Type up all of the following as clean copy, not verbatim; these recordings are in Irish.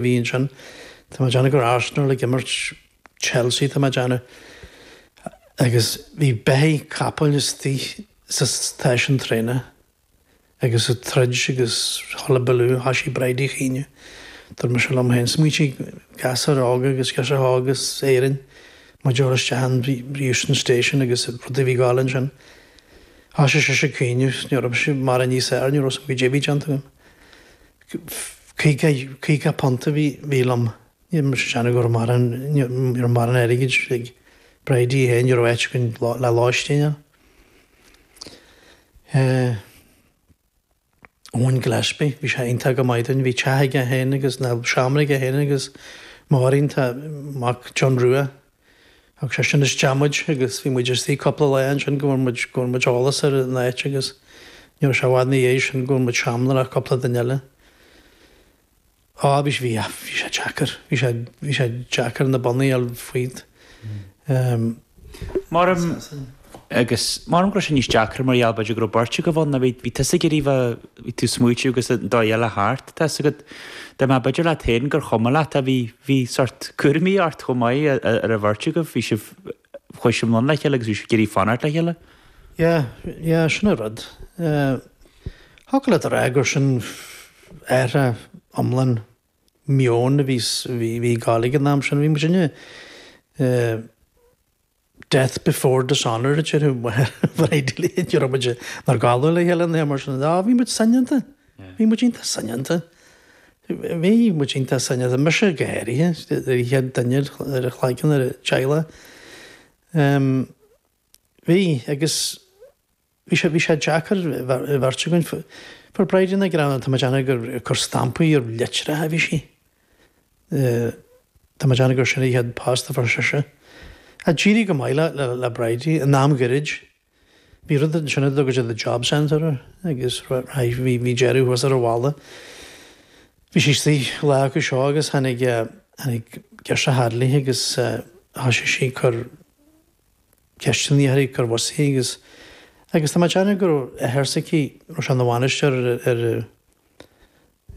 bhí ansin. Tá mé ag déanamh gur Arsenal ag imirt Chelsea tá mé ag déanamh. Agus bhí beithígh capaill istigh sa stáisiún traenach agus ag troid agus hullabaloo thoisigh Bridie a chaoineadh. Dúirt mise liom féin, smaointigh gasúir óga agus girseacha óga as Éirinn muid a dhul isteach in Euston Station agus rudaí a bhí ag gabháil ansin. Thoisigh sise ag caoineadh, ní raibh mise mórán níos fearr, ní raibh a fhios agam goidé a bhí déanta agam. £50 a bhí liom. Ní raibh mise ag déanamh go raibh mórán, ní raibh mórán airgid ag Bridie féin, ní raibh áit againn le lóistín ann. Eoin Gillespie, bhí sé iontach go maith dúinn, bhí teach aige féin agus, nó seomra aige féin agus Máirín, tá mac John Rua, Thug seisean isteach muid agus bhí muid istigh cúpla lá ansin go bhfuair muid, go bhfuair muid eolas ar an áit agus ní raibh sé i bhfad ina dhiaidh sin go bhfuair muid seomra le cúpla duine eile. Á, bhí, bhí, bhí sé deacair, bhí sé, bhí sé deacair na bonnaí a fháil fríd. Maram, agus maram go raibh sé níos deacra mar gheall b'fhéidir go raibh beirt agaibh ann, bhí, bhí tusa ag iarraidh bheith, bhí tú ag smaoitiú agus an dóigh eile thart, tá 'fhios agat, dá mbeadh b'fhéidir leat féin gur chuma leat ach bhí, bhí sort cúraimí ort chomh maith ar an bheirt agaibh, bhí sibh, chuaigh sibh anonn le chéile agus bhí sibh ag iarraidh fanacht le chéile. Yeah, yeah, sin an rud. Thiocfadh leat a rá gur sin athrú iomlán meoin a bhí, bhí ag gabháil ag an am sin, bhí muidinne, Death before dishonour a déarfadh Bridie ní raibh muid inár gcodladh le chéile nó mar sin. Á, bhí muid soineanta. Bhí muid iontach soineanta. Bhí muid iontach soineanta. Mise go háirithe, ar an chéad duine ar a chlaigeann ar an teaghlach. Bhí, agus Bhí sé, bhí sé deacair an bheirt againn. Fuair Bridie na greanadh, tá mé ag déanamh gur ag cur stampaí ar litreacha a bhí sí. Tá mé ag déanamh gur sin an chéad post a fuair sise. Ach d'éirigh go maith le, le, le Bridie in am ghairid. Bhí rud ansin a dtugadh siad the job centre air agus bhí, bhí deireadh thuas ar an bhalla. Bhí sí istigh lá acu seo agus tháinig, tháinig girseach Hadley agus thoisigh sí ag cur, ceisteanna uirthi ag cur bhosaí agus agus tá mé ag déanamh go raibh athair s'aici, raibh sé ina bhainisteoir ar ar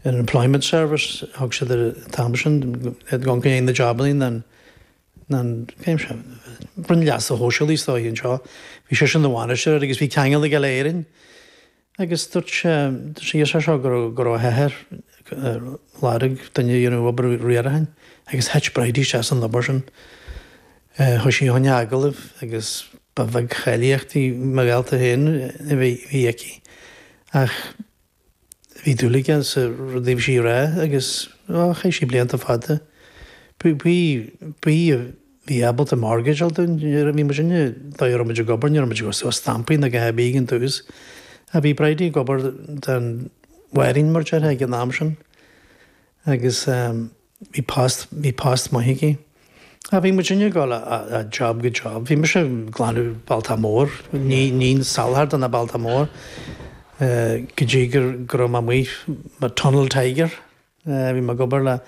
ar an Employment Service, thug siad air an t-am sin, ag dul go dtí na jabannaí ná an ná an cén sé, Roinn Leasa Shóisialaigh is dóigh anseo, bhí seisean ina bhainisteoir air agus bhí ceangal aige le Éirinn. Agus dúirt sé, dúirt sé sé seo go raibh, go raibh a hathair ag lorg duine a dhéanamh obair riaracháin agus thit Bridie isteach san obair sin. Chuaigh sí chun agallaimh agus ba bheag cháilíochtaí mo dhalta féin a bhí, bhí aici. Ach bhí dúil aige sa rud a bhí sí a rá agus, á, chaith sí blianta fada. Bhí, bhí, bhí, Bhí ábalta mortgage a fháil dúinn. Bhí muid inne, dóigh a raibh muid ag obair, ní raibh muid ag cur suas stampaí ná a dhath ar bith ag an tús. Ach bhí Bridie ag obair don Mháirín, mar déarfá, ag an am sin agus bhí post, bhí post maith aici. Ach bhí muid inne ag dul ó job go job. Bhí mise ag glanadh Bealtach Mór, ní, ní salachar do na Bealtach Mór go dtí go raibh mé amuigh mar Tunnel Tiger. Bhí mé ag obair le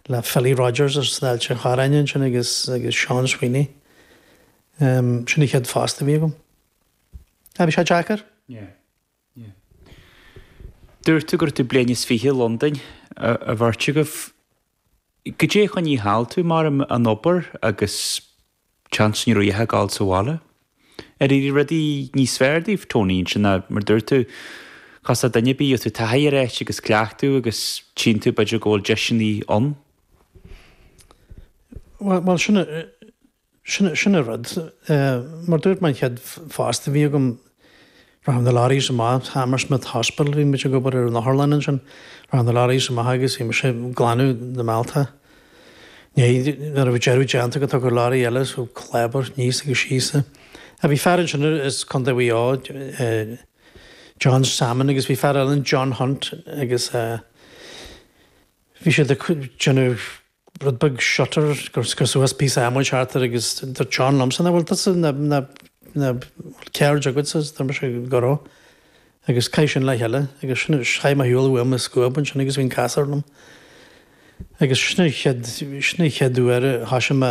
le Philly Rogers as Ailt an Chorráin ansin agus agus Seán Sweeney. Sin an chéad phost a bhí agam. Ah, bhí sé deacair. Yeah, yeah. Dúirt tú go raibh tú bliain is fiche i Londain, a bheirt agaibh. Goidé a choinnigh thall tú mar an obair agus seans ní raibh a dhath ag gabháil sa bhaile. Ar éirigh rudaí níos fearr daoibh, Tony, ansin ná mar dúirt tú, cosúil le duine ar bith, gheobhaidh tú taithí ar áit agus cleachtadh agus tchíonn tú b'fhéidir go bhfuil deiseanna ann. Bhuel, sin, sin, sin an rud. Mar dúirt mé an chéad phost a bhí agam, Rachadh na lorries amach, Hammersmith Hospital, bhí muid ag obair ar an otharlann ansin, rachadh na lorries amach agus bhí mise ag glanadh na mbealtacha. Nuair a bhí deireadh déanta go dtagadh lorry eile so clábar aníos agus síos. Ach bhí fear ansin as Contae Mhaigh Eo, John Salmon agus bhí fear eile ann John Hunt agus bhí siad ag déanamh rud beag shutter gur cur suas píosa adhmaid thart air agus dúirt John liomsa, nach bhfuil tusa na na na bhfuil ceird agatsa is dúirt mise go raibh agus caith sin le chéile agus sin chaith mé shiúl uaim i scuab ansin agus bhí an casúr liom agus sin an chéad sin an chéad uair a thoisigh mé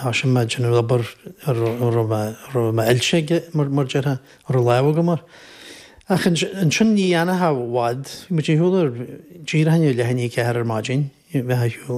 thoisigh mé déanamh obair a raibh mé a raibh mé oilte aige mar mar déarfá a raibh lámh agam air. Ach ansin ní dhéanfadh i bhfad, bhí muid ar shiúl ar díreach i ndiaidh leath i ndiaidh a ceathair ar maidin, bheith ar shiúl.